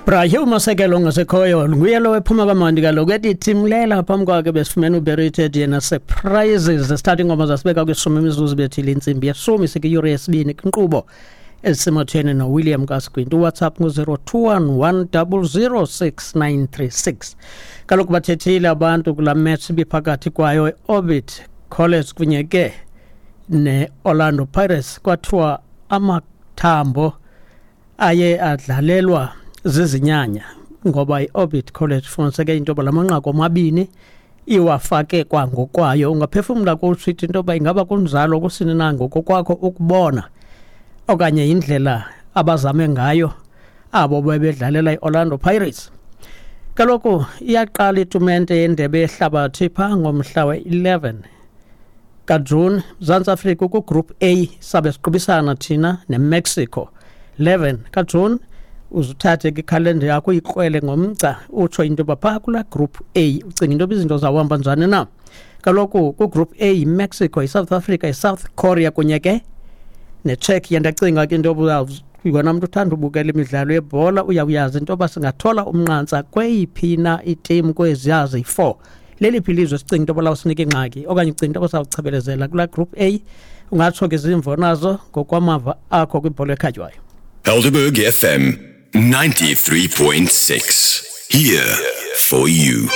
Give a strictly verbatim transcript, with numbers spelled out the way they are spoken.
Brahe uMasekelo ongasekhoyo nguye lo ephuma kamandi kaloku ethi thimlela phambi kwakhe besifumene uBerited yena Surprises. Sithatha ingoma zasibeka kwishumi imizuzu bethile intsimbi yeshumi, sikwiyure yesibini kwinkqubo ezisematheni noWilliam Kasquint. UWhatsApp ngu-zero two one one double zero six nine three six. Kaloku bathethile abantu kulaa match ibiphakathi kwayo i-Orbit College kunye ke ne-Orlando Pirates, kwathiwa amathambo aye adlalelwa zizinyanya ngoba i-Orbit College funiseke into yoba la manqaku omabini iwafake kwangokwayo. Ungaphefumla kutsho into yoba ingaba kunjalo kusini na ngokokwakho ukubona, okanye indlela abazame ngayo abo bebedlalela i-Orlando Pirates. Kaloku iyaqala itumente yendebe yehlabathi phaa ngomhla we-eleven kaJuni. Mzantsi Afrika ku-Group A, sabe siqubisana thina neMexico. eleven kaJuni, uzuthathe ke ikhalenda yakho uyikrwele ngomgca utsho into yoba phaa kulaa Group A ucinga into yoba izinto zawuhamba njani na. Kaloku ku-Group A yiMexico, yiSouth Africa, yiSouth Korea kunye ke neCzechia. Ndiyacinga ke into yoba wena mntu uthanda ubukela imidlalo yebhola uyawuyazi into yoba singathola umnqantsa kweyiphi na itimu kweziya ziyi-four. Leliphi ilizwe sicinga into yoba lawusinika ingxaki okanye ucinga into yoba sawuchebelezela kulaa Group A? Ungatsho ke zimvo nazo ngokwamava akho kwibhola ekhatywayo. Helderberg F M ninety-three point six. Here for you.